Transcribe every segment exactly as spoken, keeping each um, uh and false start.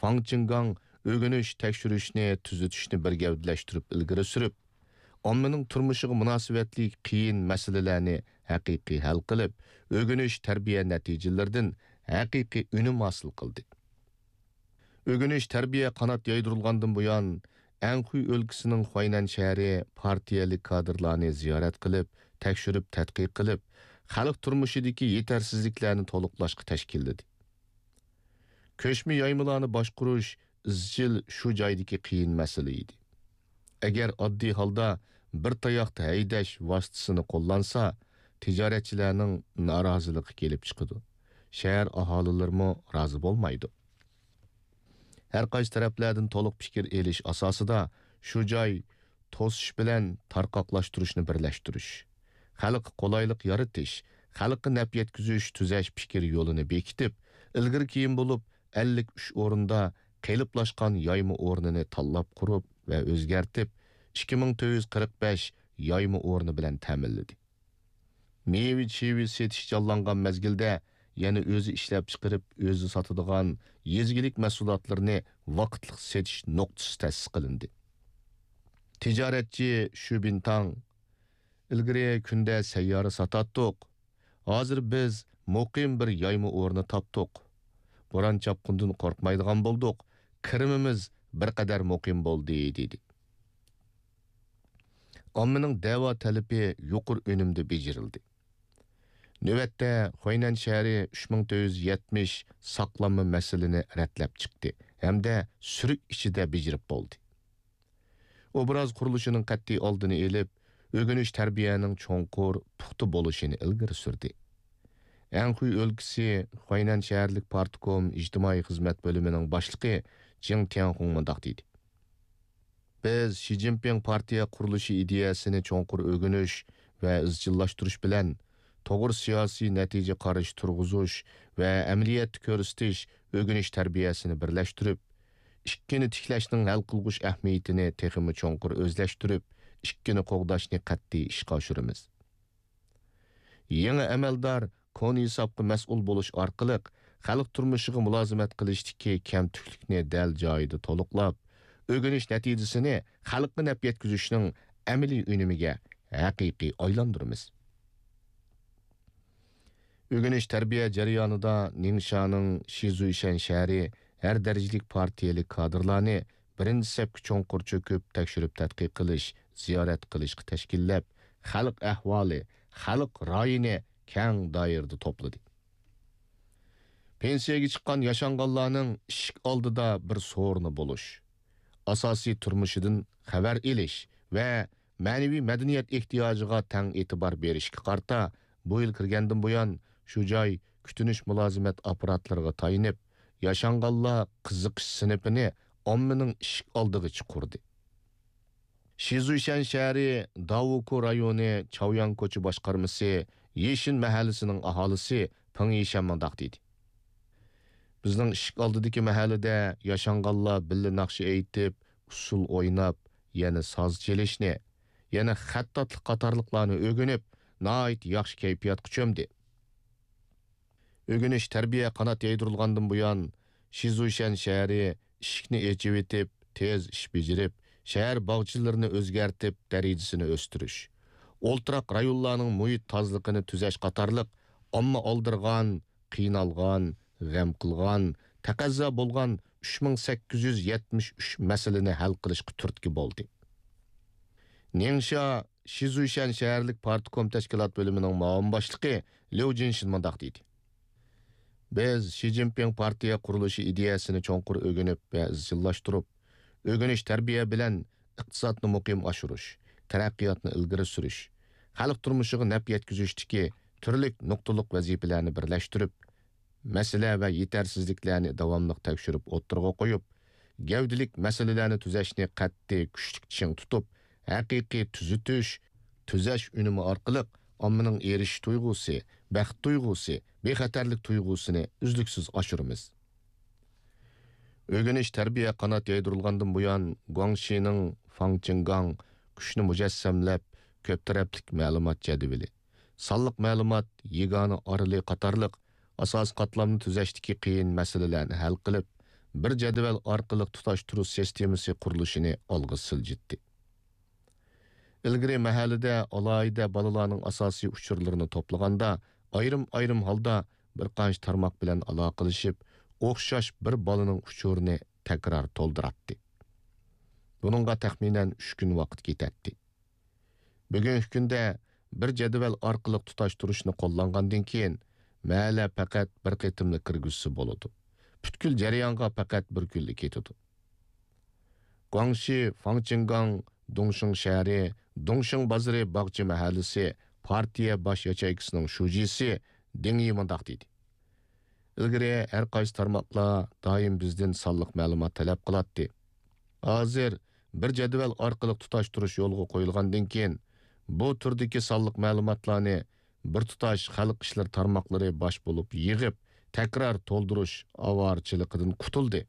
فاڭ چىڭگاڭ ئۆگىنىش، تەكشۈرۈشنى، تۈزىتىشنى بىر گەۋدىلەشتۈرۈپ ئىلگىرى سۈرۈپ، ئاممىنىڭ تۇرمۇشىغا مۇناسىۋەتلىك قىيىن مەسىلىلەرنى ھەقىقىي ھەل قىلىپ، ئۆگىنىش، تەربىيە نەتىجىلىرىدىن ھەقىقىي ئۈنۈم ھاسىل قىلدى. ئۆگىنىش، تەربىيە قانات يايدۇرۇلغاندىن بۇيان، ئەنخۇي ئۆلكىسىنىڭ خۇەينەن شەھىرى پارتىيەلىك كادىرلارنى زىيارەت قىلىپ، تەكشۈرۈپ تەتقىق قىلىپ، خەلق تۇرمۇشىدىكى يېتەرسىزلىكلەرنى تولۇقلاشقا تەشكىللىدى. كۆچمە يايمىلارنى باشقۇرۇش ئىزچىل شۇ جايدىكى قىيىن مەسىلە ئىدى. ئەگەر ئاددىي ھالدا بىر تاياقتا ھەيدەش ۋاسىتىسىنى قوللانسا، تىجارەتچىلەرنىڭ نارازىلىقى كېلىپ چىقىدۇ. شەھەر ئاھالىلىرىمۇ رازى بولمايدۇ. ھەر قايسى تەرەپلەردىن تولۇق پىكىر ئېلىش ئاساسىدا شۇ جاي توسۇش بىلەن تارقاقلاشتۇرۇشنى بىرلەشتۈرۈش، خەلققە قولايلىق يارىتىش، خەلققە نەپ يەتكۈزۈش، تۈزەش پىكىر يولىنى بېكىتىپ، ئىلگىرى كېيىن بولۇپ ئەللىك ئۈچ ئورۇندا قېلىپلاشقان يايما ئورنىنى تاللاپ قۇرۇپ ۋە ئۆزگەرتىپ، ئىككى مىڭ تۆت يۈز قىرىق بەش يايما ئورنى بىلەن تەمىنلىدى. مېۋە-چېۋە سېتىش جانلانغان مەزگىلدە يەنە ئۆزى ئىشلەپچىقىرىپ، ئۆزى ساتىدىغان يېزا ئىگىلىك مەھسۇلاتلىرىنى ۋاقىتلىق سېتىش نۇقتىسى تەسىس قىلىندى. تىجارەتچى شۈ بىنتاڭ: «ئىلگىرى كۈندە سەييارە ساتاتتۇق. ھازىر بىز مۇقىم بىر يايما ئورنى تاپتۇق. بوران-چاپقۇندىن قورقمايدىغان بولدۇق. كىرىمىمىز بىر قەدەر مۇقىم بولدى» دېدى. ئاممىنىڭ دەۋا تەلىپى يۇقىرى ئۈنۈمدە بېجىرىلدى. نۆۋەتتە، خۇەينەن شەھىرى ئۈچ مىڭ تۆت يۈز يەتمىش ساقلانما مەسىلىنى رەتلەپ چىقتى ھەمدە سۈرۈك ئىچىدە بېجىرىپ بولدى. ئوبراز قۇرۇلۇشىنىڭ قەتئىي ئالدىنى ئېلىپ، ئۆگىنىش تەربىيەنىڭ چوڭقۇر، پۇختا بولۇشىنى ئىلگىرى سۈردى. ئەنخۇي ئۆلكىسى خۇەينەن شەھەرلىك پارتكوم ئىجتىمائىي خىزمەت بۆلۈمىنىڭ باشلىقى جېڭ تيەنخۇڭ مۇنداق دېدى: «بىز شى جىنپىڭ پارتىيە قۇرۇلۇشى ئىدىيەسىنى چوڭقۇر ئۆگىنىش ۋە ئىزچىللاشتۇرۇش بىلەن، توغرا سىياسىي نەتىجە قارىشى تۇرغۇزۇش ۋە ئەمەلىيەتتە كۆرسىتىش ئۆگىنىش تەربىيەسىنى بىرلەشتۈرۈپ، ئىككىنى تىكلەشنىڭ ھەل قىلغۇچ ئەھمىيىتىنى تېخىمۇ چوڭقۇر ئۆزلەشتۈرۈپ، ئىككىنى قوغداشنى قەتئىي ئىشقا ئاشۇرىمىز. يېڭى ئەمەلدار كونا ھېسابقا مەسئۇل بولۇش ئارقىلىق، خەلق تۇرمۇشىغا مۇلازىمەت قىلىشتىكى كەمتۈكلۈكنى دەل جايىدا تولۇقلاپ، ئۆگىنىش نەتىجىسىنى خەلققە نەپ يەتكۈزۈشنىڭ ئەمەلىي ئۈنۈمىگە ھەقىقىي ئايلاندۇرىمىز.» ئۆگىنىش تەربىيە جەريانىدا نىڭشانىڭ شىزۇيشەن شەھىرى ھەر دەرىجىلىك پارتىيەلىك كادىرلارنى بىرىنچى سەپكە چوڭقۇر چۆكۈپ، تەكشۈرۈپ تەتقىق قىلىش، زىيارەت قىلىشقا تەشكىللەپ، خەلق ئەھۋالى، خەلق رايىنى كەڭ دائىرىدە توپلىدى. پېنسىيەگە چىققان ياشانغانلارنىڭ ئىشىك ئالدىدا بىر سورۇنى بولۇش، ئاساسىي تۇرمۇشىدىن خەۋەر ئېلىش ۋە مەنىۋى مەدەنىيەت ئېھتىياجىغا تەڭ ئېتىبار بېرىشكە قارىتا، بۇ يىل كىرگەندىن بۇيان، شۇ جاي كۈتۈنۈش مۇلازىمەت ئاپپاراتلىرىغا تايىنىپ، ياشانغانلار قىزىقىش سىنىپىنى ئاممىنىڭ ئىشىك ئالدىغىچە قۇردى. شىزۇيشەن شەھىرى داۋۇكۇ رايونى چاۋياڭ كوچا باشقارمىسى يېشىن مەھەللىسىنىڭ ئاھالىسى پېڭ يىشەن مۇنداق دېدى: «بىزنىڭ ئىشىك ئالدىدىكى مەھەللىدە ياشانغانلار بىللە ناخشا ئېيتىپ، ئۇسسۇل ئويناپ، يەنە ساز چېلىشنى، يەنە خەتتاتلىق قاتارلىقلارنى ئۆگىنىپ، ناھايىتى ياخشى كەيپىياتقا چۆمدى.» ئۆگىنىش، تەربىيە قانات يايدۇرۇلغاندىن بۇيان، شىزۇيشەن شەھىرى ئىشىكنى ئېچىۋېتىپ، تېز ئىش بېجىرىپ، شەھەر باغچىلىرىنى ئۆزگەرتىپ، دەرىجىسىنى ئۆستۈرۈش، ئولتۇراق رايونلارنىڭ مۇھىت تازىلىقىنى تۈزەش قاتارلىق ئامما ئالدىرىغان، قىينالغان، غەم قىلغان، تەقەززا بولغان ئۈچ مىڭ سەككىز يۈز يەتمىش ئۈچ مەسىلىنى ھەل قىلىشقا تۈرتكە بولدى. نىڭشا شىزۇيشەن شەھەرلىك پارتكوم تەشكىلات بۆلۈمىنىڭ مۇئاۋىن باشلىقى ليۇ جىنشىن مۇنداق دېدى: «بىز شى جىنپىڭ پارتىيە قۇرۇلۇشى ئىدىيەسىنى چوڭقۇر ئۆگىنىپ ۋە ئىزچىللاشتۇرۇپ، ئۆگىنىش تەربىيە بىلەن ئىقتىسادنى مۇقىم ئاشۇرۇش، تەرەققىياتنى ئىلگىرى سۈرۈش، خەلق تۇرمۇشىغا نەپ يەتكۈزۈشتىكى تۈرلۈك نۇقتىلىق ۋەزىپىلەرنى بىرلەشتۈرۈپ، مەسىلە ۋە يېتەرسىزلىكلەرنى داۋاملىق تەكشۈرۈپ ئوتتۇرىغا قويۇپ، گەۋدىلىك مەسىلىلەرنى تۈزەشنى قەتئىي كۈچلۈك چىڭ تۇتۇپ، ھەقىقىي تۈزىتىش، تۈزەش ئۈنۈمى ئارقىلىق ئاممىنىڭ ئېرىشىش تۇيغۇسى، بەخت تۇيغۇسى، بىخەتەرلىك تۇيغۇسىنى ئۈزلۈكسىز ئاشۇرىمىز.» ئۆگىنىش، تەربىيە قانات يايدۇرۇلغاندىن بۇيان، گۇاڭشىنىڭ فاڭ چىڭگاڭ كۈچنى مۇجەسسەملەپ، كۆپ تەرەپلىك مەلۇمات جەدۋىلى، سانلىق مەلۇمات يېگانە ئارىلى قاتارلىق ئاساسىي قاتلامنى تۈزەشتىكى قىيىن مەسىلىلەرنى ھەل قىلىپ، بىر جەدۋەل ئارقىلىق تۇتاشتۇرۇش سىستېمىسى قۇرۇلۇشىنى ئالغا سىلجىتتى. ئىلگىرى مەھەللىدە ئالاھىدە بالىلارنىڭ ئاساسىي ئۇچۇرلىرىنى توپلىغاندا، ئايرىم-ئايرىم ھالدا بىر قانچە تارماق بىلەن ئالاقىلىشىپ، ئوخشاش بىر بالىنىڭ ئۇچۇرىنى تەكرار تولدۇراتتى. بۇنىڭغا تەخمىنەن ئۈچ كۈن ۋاقىت كېتەتتى. بۈگۈنكى كۈندە بىر جەدۋەل ئارقىلىق تۇتاشتۇرۇشنى قوللانغاندىن كېيىن، مەھەللە پەقەت بىر قېتىملا كىرگۈزسە بولىدۇ. پۈتكۈل جەريانغا پەقەت بىر كۈنلا كېتىدۇ. گۇاڭشى فاڭچىڭگاڭ دۇڭشىڭ شەھىرى، دۇڭشىڭ بازىرى باغچە مەھەللىسى پارتىيە باش ياچېيكىسىنىڭ شۇجىسى دېڭ يى مۇنداق دېدى: ئىلگىرى ھەر قايسى تارماقلار دائىم بىزدىن سانلىق مەلۇمات تەلەپ قىلاتتى. ھازىر بىر جەدۋەل ئارقىلىق تۇتاشتۇرۇش يولغا قويۇلغاندىن كېيىن، بۇ تۈردىكى سانلىق مەلۇماتلارنى بىر تۇتاش خەلق ئىشلىرى تارماقلىرى باش بولۇپ يىغىپ، تەكرار تولدۇرۇش ئاۋارىچىلىقىدىن قۇتۇلدى.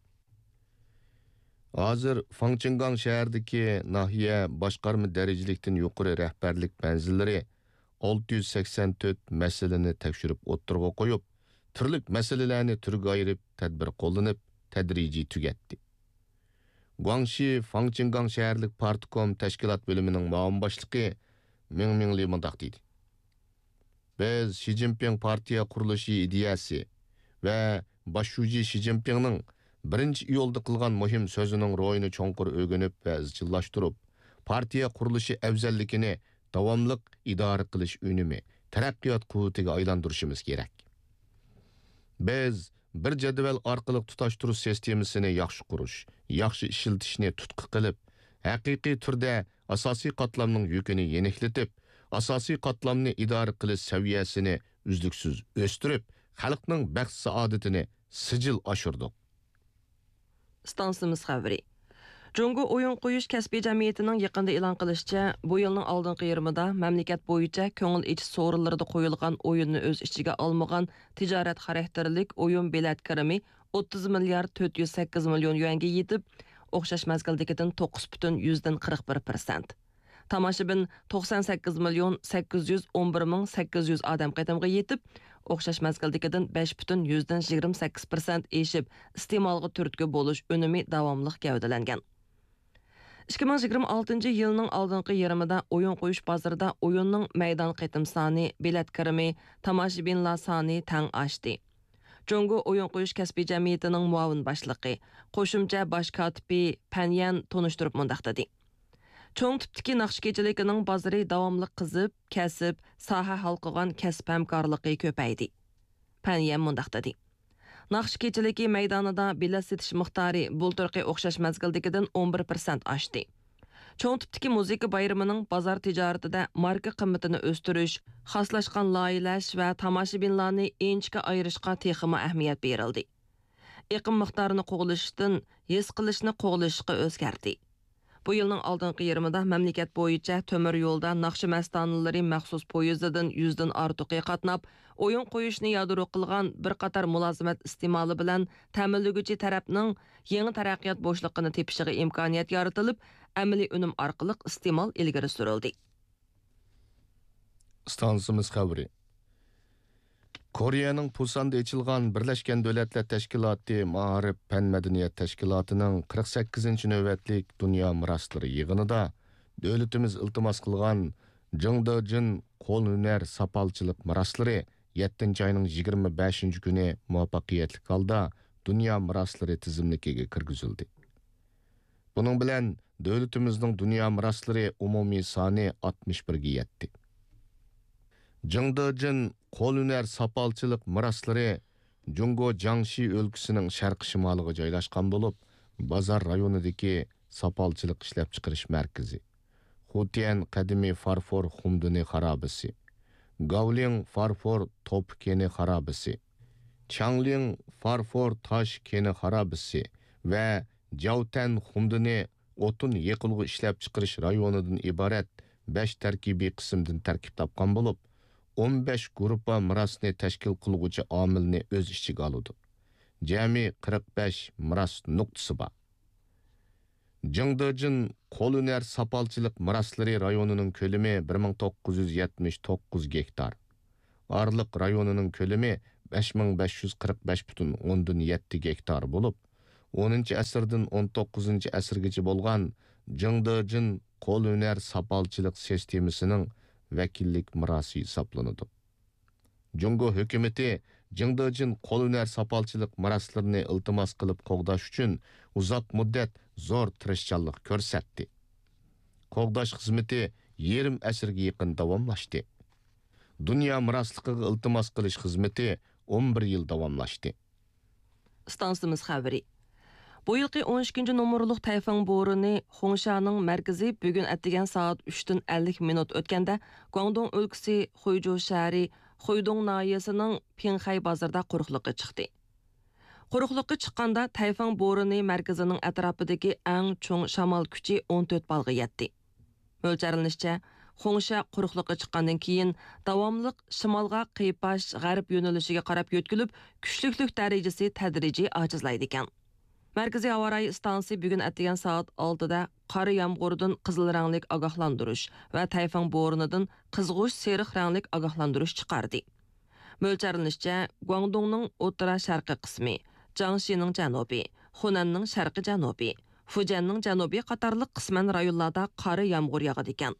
ھازىر فاڭچىڭگاڭ شەھىرىدىكى ناھىيە باشقارما دەرىجىلىكتىن يۇقىرى رەھبەرلىك مەنزىللىرى ئالتە يۈز سەكسەن تۆت مەسىلىنى تەكشۈرۈپ ئوتتۇرىغا قويۇپ، تۈرلۈك مەسىلىلەرنى تۈرگە ئايرىپ، تەدبىر قوللىنىپ، تەدرىجىي تۈگەتتى. گۇاڭشى فاڭچىڭگاڭ شەھەرلىك پارتكوم تەشكىلات بۆلۈمىنىڭ مۇئاۋىن باشلىقى مىڭ مىڭلى مۇنداق دېدى: بىز شى جىنپىڭ پارتىيە قۇرۇلۇشى ئىدىيەسى ۋە باش شۇجى شى جىنپىڭنىڭ بىرىنچى ئىيۇلدا قىلغان مۇھىم سۆزىنىڭ روھىنى چوڭقۇر ئۆگىنىپ ۋە ئىزچىللاشتۇرۇپ، پارتىيە قۇرۇلۇشى ئەۋزەللىكىنى داۋاملىق ئىدارە قىلىش ئۈنۈمى، تەرەققىيات قۇۋۋىتىگە ئايلاندۇرۇشىمىز كېرەك. بىز بىر جەدۋەل ئارقىلىق تۇتاشتۇرۇش سىستېمىسىنى ياخشى قۇرۇش، ياخشى ئىشلىتىشنى تۇتقا قىلىپ، ھەقىقىي تۈردە ئاساسىي قاتلامنىڭ يۈكىنى يېنىكلىتىپ، ئاساسىي قاتلامنى ئىدارە قىلىش سەۋىيەسىنى ئۈزلۈكسىز ئۆستۈرۈپ، خەلقنىڭ بەخت-سائادىتىنى سىجىل ئاشۇردۇق. ئىستانسىمىز خەۋىرى. جۇڭگو ئويۇن قويۇش كەسپىي جەمئىيىتىنىڭ يېقىندا ئېلان قىلىشىچە، بۇ يىلنىڭ ئالدىنقى يېرىمىدا مەملىكەت بويىچە كۆڭۈل ئېچىش سورۇنلىرىدا قويۇلغان ئويۇننى ئۆز ئىچىگە ئالمىغان تىجارەت خاراكتېرلىك ئويۇن بېلەت كىرىمى ئوتتۇز مىليارد تۆت يۈز سەككىز مىليون يۈەنگە يېتىپ، ئوخشاش مەزگىلدىكىدىن توققۇز پۈتۈن يۈزدىن قىرىق بىر پىرسەنت. تاماشىبىن توقسان سەككىز مىليون سەككىز يۈز ئون بىر مىڭ سەككىز يۈز ئادەم قېتىمغا يېتىپ، ئوخشاش مەزگىلدىكىدىن بەش پۈتۈن يۈزدىن يىگىرمە سەككىز پىرسەنت ئېشىپ، ئىستېمالغا تۈرتكە بولۇش ئۈنۈمى داۋاملىق گەۋدىلەنگەن. ئىككى مىڭ يىگىرمە ئالتىنچى يىلنىڭ ئالدىنقى يېرىمىدا ئويۇن قويۇش بازىرىدا ئويۇننىڭ مەيدان قېتىم سانى، بېلەت كىرىمى، تاماشىبىنلار سانى تەڭ ئاشتى. جۇڭگو ئويۇن قويۇش كەسپىي جەمئىيىتىنىڭ مۇئاۋىن باشلىقى، قوشۇمچە باش كاتىپى پەن يەن تونۇشتۇرۇپ مۇنداق دېدى: چوڭ تىپتىكى ناخشا كېچىلىكىنىڭ بازىرى داۋاملىق قىزىپ، كەسىپ، ساھە ھالقىغان كەسىپ ھەمكارلىقى كۆپەيدى. پەن يەن مۇنداق دېدى: ناخشا كېچىلىكى مەيدانىدا بېلەت سېتىش مىقدارى بۇلتۇرقى ئوخشاش مەزگىلدىكىدىن ئون بىر پىرسەنت ئاشتى. چوڭ تىپتىكى مۇزىكا بايرىمىنىڭ بازار تىجارىتىدە ماركا قىممىتىنى ئۆستۈرۈش، خاسلاشقان لايىھەلەش ۋە تاماشىبىنلارنى ئىنچىكە ئايرىشقا تېخىمۇ ئەھمىيەت بېرىلدى. ئېقىم مىقدارىنى قوغلىشىشتىن ھېس قىلىشنى قوغلىشىشقا ئۆزگەردى. بۇ يىلنىڭ ئالدىنقى يېرىمىدا مەملىكەت بويىچە تۆمۈر يولدا ناخشا مەستانىلىرى مەخسۇس پويىزىدىن يۈزدىن ئارتۇقى قاتناپ، ئويۇن قويۇشنى يادرو قىلغان بىر قاتار مۇلازىمەت ئىستېمالى بىلەن تەمىنلىگۈچى تەرەپنىڭ يېڭى تەرەققىيات بوشلۇقىنى تېپىشىغا ئىمكانىيەت يارىتىلىپ، ئەمەلىي ئۈنۈم ئارقىلىق ئىستېمال ئىلگىرى سۈرۈلدى. ئىستانسىمىز خەۋىرى. كورېيەنىڭ پۇساندا ئېچىلغان بىرلەشكەن دۆلەتلەر تەشكىلاتى مائارىپ پەن مەدەنىيەت تەشكىلاتىنىڭ قىرىق سەككىزىنچى نۆۋەتلىك دۇنيا مىراسلىرى يىغىنىدا دۆلىتىمىز ئىلتىماس قىلغان جىڭدېجىن قول ھۈنەر ساپالچىلىق مىراسلىرى يەتتىنچى ئاينىڭ يىگىرمە بەشىنچى كۈنى مۇۋەپپەقىيەتلىك ھالدا دۇنيا مىراسلىرى تىزىملىكىگە كىرگۈزۈلدى. بۇنىڭ بىلەن دۆلىتىمىزنىڭ دۇنيا مىراسلىرى ئومۇمىي سانى ئاتمىش بىرگە يەتتى. جىڭدېجىن قول ھۈنەر ساپالچىلىق مىراسلىرى جۇڭگو جياڭشى ئۆلكىسىنىڭ شەرقىي شىمالىغا جايلاشقان بولۇپ، بازار رايونىدىكى ساپالچىلىق ئىشلەپچىقىرىش مەركىزى، خۇتيەن قەدىمىي فارفور خۇمدىنى خارابىسى، گاۋلىڭ فارفور توپا كېنى خارابىسى، چياڭلىڭ فارفور تاش كېنى خارابىسى ۋە جياۋتەن خۇمدىنى ئوتۇن يېقىلغۇ ئىشلەپچىقىرىش رايونىدىن ئىبارەت بەش تەركىبىي قىسىمدىن تەركىب تاپقان بولۇپ، ئون بەش گۇرۇپپا مىراسنى تەشكىل قىلغۇچى ئامىلنى ئۆز ئىچىگە ئالىدۇ. جەمئىي قىرىق بەش مىراس نۇقتىسى بار. جىڭدېجىن قول ھۈنەر ساپالچىلىق مىراسلىرى رايونىنىڭ كۆلىمى بىر مىڭ توققۇز يۈز يەتمىش توققۇز گېكتار. ئارىلىق رايونىنىڭ كۆلىمى بەش مىڭ بەش يۈز قىرىق بەش پۈتۈن ئوندىن يەتتە گېكتار بولۇپ، ئونىنچى ئەسىردىن ئون توققۇزىنچى ئەسىرگىچە بولغان جىڭدېجىن قول ھۈنەر ساپالچىلىق سىستېمىسىنىڭ ۋەكىللىك مىراسى ھېسابلىنىدۇ. جۇڭگو ھۆكۈمىتى جىڭدېجىن قول ھۈنەر ساپالچىلىق مىراسلىرىنى ئىلتىماس قىلىپ قوغداش ئۈچۈن ئۇزاق مۇددەت زور تىرىشچانلىق كۆرسەتتى. قوغداش خىزمىتى يېرىم ئەسىرگە يېقىن داۋاملاشتى. دۇنيا مىراسلىقىغا ئىلتىماس قىلىش خىزمىتى ئون بىر يىل داۋاملاشتى. ئىستانسىمىز خەۋىرى. بۇ يىلقى ئون ئىككىنچى نومۇرلۇق تەيفۇڭ بورىنى خۇڭشانىڭ مەركىزى بۈگۈن ئەتىگەن سائەت ئۈچتىن ئەللىك مىنۇت ئۆتكەندە، گۇاڭدۇڭ ئۆلكىسى خۇيجۇ شەھىرى خۇيدۇڭ ناھىيەسىنىڭ پىڭخەي بازىرىدا قۇرۇقلۇققا چىقتى. قۇرۇقلۇققا چىققاندا، تەيفۇڭ بورىنى مەركىزىنىڭ ئەتراپىدىكى ئەڭ چوڭ شامال كۈچى ئون تۆت بالغا يەتتى. مۆلچەرلىنىشىچە، خۇڭشا قۇرۇقلۇققا چىققاندىن كېيىن، داۋاملىق شىمالغا قىيپاش غەرب يۆنىلىشىگە قاراپ يۆتكىلىپ، كۈچلۈكلۈك دەرىجىسى تەدرىجىي ئاجىزلايدىكەن. مەركىزىي ھاۋا رايى ئىستانسىسى بۈگۈن ئەتىگەن سائەت ئالتىدە قارا يامغۇردىن قىزىل رەڭلىك ئاگاھلاندۇرۇش ۋە تەيفۇڭ بورىنىدىن قىزغۇچ سېرىق رەڭلىك ئاگاھلاندۇرۇش چىقاردى. مۆلچەرلىنىشىچە، گۇاڭدۇڭنىڭ ئوتتۇرا شەرقىي قىسمى، جياڭشىنىڭ جەنۇبى، خۇنەننىڭ شەرقىي جەنۇبى، فۇجيەننىڭ جەنۇبى قاتارلىق قىسمەن رايونلاردا قارا يامغۇر ياغىدىكەن.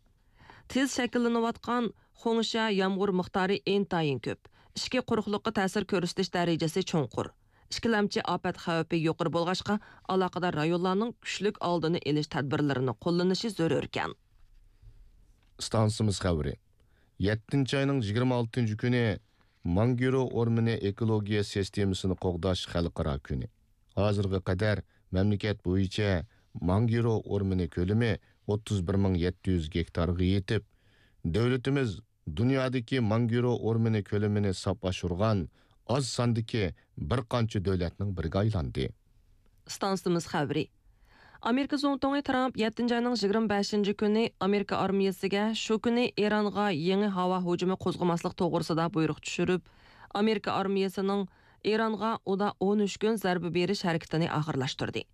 تېز شەكىللىنىۋاتقان خۇڭشا يامغۇر مىقدارى ئىنتايىن كۆپ. ئىچكى قۇرۇقلۇققا تەسىر كۆرسىتىش دەرىجىسى چوڭقۇر. ئىككىلەمچى ئاپەت خەۋپى يۇقىرى بولغاچقا، ئالاقىدار رايونلارنىڭ كۈچلۈك ئالدىنى ئېلىش تەدبىرلىرىنى قوللىنىشى زۆرۈركەن. ئىستانسىمىز خەۋىرى. يەتتىنچى ئاينىڭ يىگىرمە ئالتىنچى كۈنى مانگرو ئورمىنى ئېكولوگىيە سىستېمىسىنى قوغداش خەلقئارا كۈنى. ھازىرغا قەدەر مەملىكەت بويىچە مانگرو ئورمىنى كۆلىمى ئوتتۇز بىر مىڭ يەتتە يۈز گېكتارغا يېتىپ، دۆلىتىمىز دۇنيادىكى مانگرو ئورمىنى كۆلىمىنى ساپ ئاشۇرغان ئاز ساندىكى بىر قانچە دۆلەتنىڭ بىرىگە ئايلاندى. ئىستانسىمىز خەۋىرى. ئامېرىكا زۇڭتۇڭى ترامپ يەتتىنچى ئاينىڭ يىگىرمە بەشىنچى كۈنى ئامېرىكا ئارمىيەسىگە شۇ كۈنى ئىرانغا يېڭى ھاۋا ھۇجۇمى قوزغىماسلىق توغرىسىدا بۇيرۇق چۈشۈرۈپ، ئامېرىكا ئارمىيەسىنىڭ ئىرانغا ئۇدا ئون ئۈچ كۈن زەربە بېرىش ھەرىكىتىنى ئاخىرلاشتۇردى.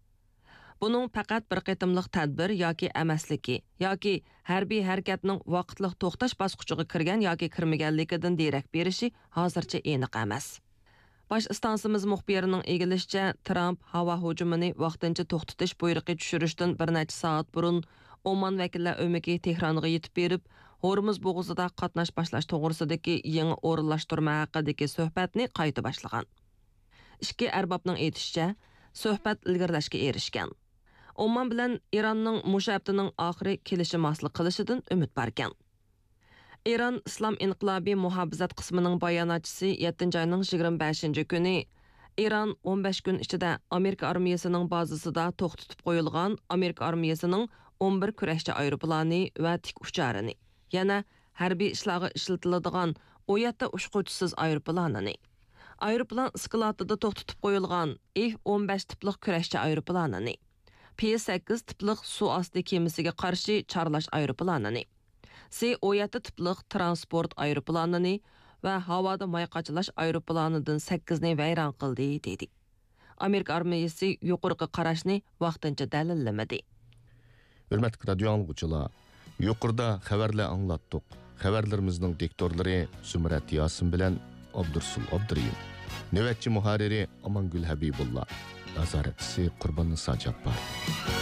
بۇنىڭ پەقەت بىر قېتىملىق تەدبىر ياكى ئەمەسلىكى، ياكى ھەربىي ھەرىكەتنىڭ ۋاقىتلىق توختاش باسقۇچىغا كىرگەن ياكى كىرمىگەنلىكىدىن دېرەك بېرىشى ھازىرچە ئېنىق ئەمەس. باش ئىستانسىمىز مۇخبىرىنىڭ ئىگىلىشىچە، ترامپ ھاۋا ھۇجۇمىنى ۋاقتىنچە توختىتىش بۇيرۇقى چۈشۈرۈشتىن بىر نەچچە سائەت بۇرۇن ئومان ۋەكىللەر ئۆمىكى تېھرانغا يېتىپ بېرىپ، ھورمۇز بوغۇزىدا قاتناش باشلاش توغرىسىدىكى يېڭى ئورۇنلاشتۇرما ھەققىدىكى سۆھبەتنى قايتا باشلىغان. ئىككى ئەربابنىڭ ئېيتىشىچە، سۆھبەت ئىلگىرىلەشكە ئېرىشكەن. ئومان بىلەن ئىراننىڭ مۇشۇ ھەپتىنىڭ ئاخىرى كېلىشىم ھاسىل قىلىشىدىن ئۈمىد باركەن. ئىران ئىسلام ئىنقىلابى مۇھاپىزەت قىسمىنىڭ باياناتچىسى يەتتىنچى ئاينىڭ يىگىرمە بەشىنچى كۈنى، ئىران ئون بەش كۈن ئىچىدە ئامېرىكا ئارمىيەسىنىڭ بازىسىدا توختىتىپ قويۇلغان ئامېرىكا ئارمىيەسىنىڭ ئون بىر كۈرەشچى ئايروپىلانى ۋە تىك ئۇچارىنى، يەنە ھەربىي ئىشلارغا ئىشلىتىلىدىغان ئون يەتتە ئۇچقۇچىسىز ئايروپىلانىنى، ئايروپىلان ئىسكىلاتىدا توختىتىپ قويۇلغان ئېف ئون بەش تىپلىق كۈرەشچى ئايروپىلانىنى، پى سەككىز تىپلىق سۇ ئاستى كېمىسىگە قارشى چارلاش ئايروپىلانىنى، سى ئون يەتتە تىپلىق تىرانسپورت ئايروپىلانىنى ۋە ھاۋادا ماي قاچىلاش ئايروپىلانىدىن سەككىزنى ۋەيران قىلدى، دېدى. ئامېرىكا ئارمىيەسى يۇقىرىقى قاراشنى ۋاقتىنچە دەلىللىمىدى. ھۆرمەتلىك رادىيو ئاڭلىغۇچىلار، يۇقىرىدا خەۋەرلەر ئاڭلاتتۇق. خەۋەرلىرىمىزنىڭ دىكتورلىرى زۇمرەت ياسىن بىلەن ئابدۇرسۇل ئابدۇرېھىم. نۆۋەتچى مۇھەررىرى ئامانگۈل ھەبىبۇللا. نازارەتچىسى قۇرباننىسا جاپپار.